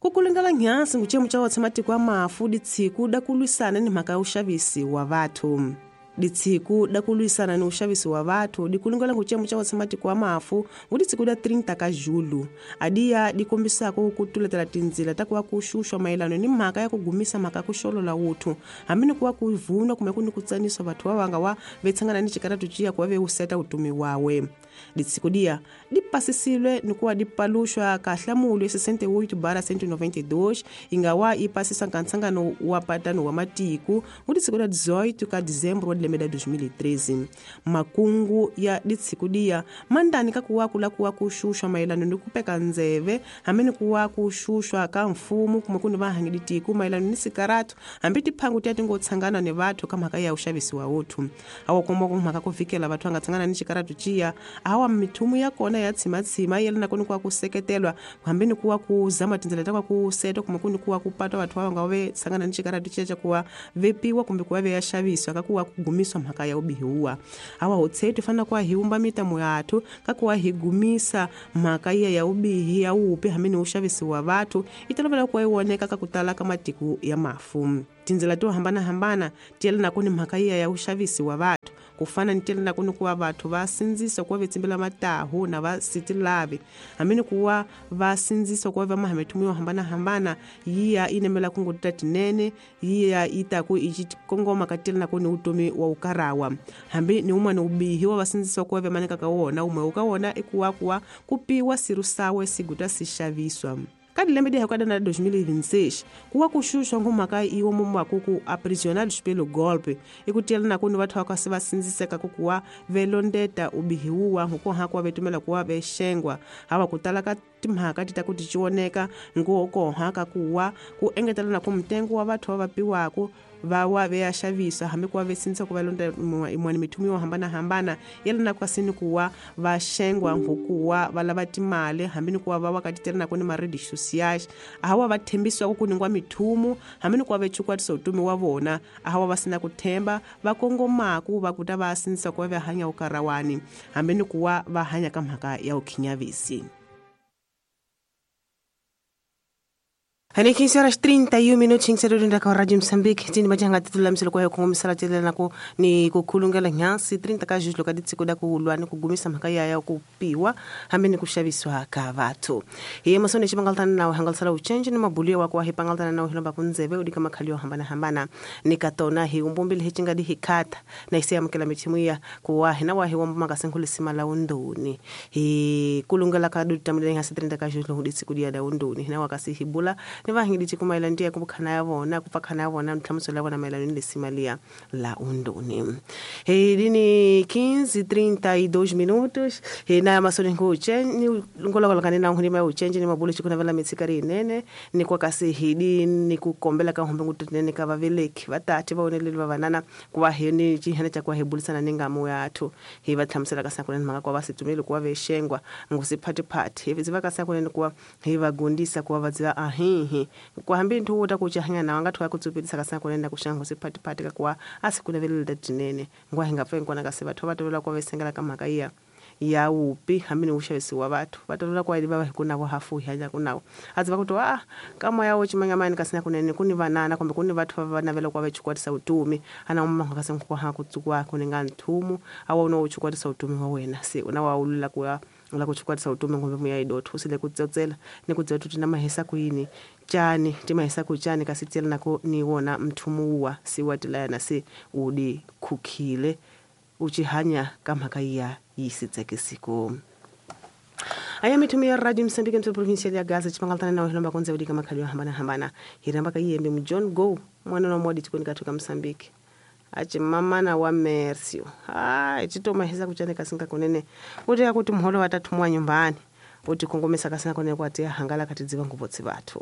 Ku kulungela nhansi nguchemu cha wotse matiko ya mafu ditsiku da kulwisana ni mhaka ya uxavisi wa vathu. Ditsiku da kulwisana ni uxavisi wa vathu dikulungela nguchemu cha wotse matiko ya mafu nguditsiku da 30 ka Julho. Adiya dikombisako ku tuletela tindzila ta kuva ku xuxwa mayelano ni mhaka ya ku gumisa mhaka ku xolola wuthu hambi ni kuva ku vunwa kumbe ku ni ku tsanisa vathu va vanga wa vetshangana ni xikaratu ciya kuva ve useta utumi wawe. Ditsiku dia dipasisile ni kuva dipaluxwa ka hlamulo ya 68/192 ingawa yi pasisa nkansangano wa patano wa matiko nguditsiku da 18 ka Dezembro wa lembe la 2013. Makungu ya ditsiku dia mandani ka kuwa kula kuwa kuxuxwa mayelano ni ku peka ndzeve hambi ni kuwa kuxuxwa ka mfumo kumbe ku ni vahangi ditiko mayelano ni sikaratu hambi tiphangu tiya ti ngo tshangana ni vathu ka mhaka ya uxavisi wa wuthu. Awa komba ku mhaka ku vikela vathu va nga tshangana ni xikaratu ciya awa mithumu ya kona ya tshimatshima yelana ku ni kuwa ku seketelwa hambi ni kuwa ku zama tindzela ta ku seta kumbe ku ni kuwa ku patwa vathu va nga ve tshangana ni xikaratu ciya ca kuwa vepiwa kumbe kuwa ve ya xaviswa ka kuwa ku gumiswa mhaka ya ubihiwa. Awa hotsetu fana kuwa hi umba mitamo yathu ka kuwa hi gumisa mhaka iya ya ubihi ya upi hambi ni uxavisi wa vathu itolovela kuwa yi woneka ka ku tala ka matiko ya mafu. Tindzela to hambanahambana ti yelana ku ni mhaka iya ya uxavisi wa vathu ku fana ni tiyelana ku ni kuva vathu va sindzisa kuva vetsimbela matahu na va sitilavi hambi ni kuva va sindzisa kuva va mahamethumu yo hambanahambana yiya yi nemela ku ngoti ta tinene yiya yi ta ku i kongoma ka tiyelana ku ni utomi wa ukarawa hambi ni wun'wana ubihi wa va sindzisa kuva ve maneka ka wona umwe ka wona i kuwa kuwa ku piwa sirusawe siguta si xaviswa. Ka dilembe di hekada na 2026 kuwa ku xuxwa ngumhaka iwo mumwaku ku aprisionados pelo golpe i ku tiyelana ku ni vathu va kasi va sindziseka ku kuwa velondeta ubihiwa nkukoha kuwa vetumela kuwa vexengwa hawa ku tala ka timhaka ti ta ku ti cioneka nkokoha ka kuwa ku engetelana ku mtengo wa vathu va vapiwaku va wa ve ya xavisa hambi ku va ve sindzisa ku va londa yin'wana mithumu yo hambanahambana yelana kasi ni kuwa va xengwa nkukuwa va lava timali hambi ni kuwa va wa ka titelana ku ni ma-redes sociais ahawa va thembisiwa ku ningwa mithumu hambi ni kuwa ve chukwatisa utumi wa vona ahawa va sina ku themba va kongomaku va kuta va sindzisa ku va ve hanya ukarawani hambi ni kuwa va hanya ka mhaka ya ukhinyavisi. Hani 15 horas 31 minutos inserunda ka Radio Mozambique tini majanga titula mselo kwa kongomisala telela ko ni kukhulungela nyansi 30 ka julo ka ditsiko da kulwa ni kugumisa mhaka ya ku piwa hambi ni kuxaviswa ka vathu. Hi masone xibangaltana na hangalsala uchenje ni mabuliwa wa kwa hipangaltana na hilomba kunzeve udika makhalio hambana hambana ni katona hi umbombile hichinga di hikata na ise amkela mithimuya kuwa hina wa hi womba makasengulisima la undoni hi kulungela ka dutamile ngasi 30 ka julo ditsiko dia da undoni hina wakasi hibula ni vahingidi chikumaila ndiye kubukhana ya vona kupakhana ya vona ntlhamuso la vona mayelana ni lesimalia la undoni. Dini 15:32 minutos na masoni nguche ni ngolola kanena ngulima uchenje ni mabulo chikuna vela mitsikari nene ni kwa kasi hidi ni kukombela ka hombe ngutinene ka vaveleki vatati vaoneleli va vanana kuva hini chihene cha kwa hebulisana ningamu yathu hi va tlhamusela ka sakunene mhaka kwa vasitumeli kuva vexengwa ngusiphatiphathi hi va ka sakunene kuva hi va gundisa kuva va dziva ahihi ku hambi nthu wo ta ku chahanya na nga thwa ku tsupelisa ka sakunene ku xangu siphatiphathi ka kuva a sikunavelela tinene ngwa hi nga pfengi kona kasi vathu va tovela kwa vesengela ka mhaka iya ya upi hambi ni uxavisi wa vathu va tolela kwa va hi ku navo hafu hi hanya ku nawo a dzi va ku to a ka moya wo chimangamani kasi na kunene ku ni vanana kumbe ku ni vathu va navela kwa va chukwatisa utumi ana umma kasi ku ha ku tsukwa ku ni nga nthumu a wa no chukwatisa utumi wa wena se una wa ulula ku ya la ku chukwatisa utumi ngombe muya idothu sile ku tsotsela ni ku dzothu tina mahisa ku yini chani timahisa ku chani kasi tsela nako ni wona mthumu wa si wa tilayana se udi khukhile uchihanya ka mhaka ya yisitsekisiko. Aya mithumu ya Radio Mozambique mtso provincial ya Gaza chipangaltana na hilomba konze udika makhali hambana hambana hiramba ka yembe mu John Go mwana wa modi chikoni kathuka Mozambique achi mamana wa Mercio ah chitoma hisa kuchane kasinga kunene kuti akuti mholo watathumwa nyumbani uti kongomesa kasina kunene kwati hangala katidziva nguvotsi vathu.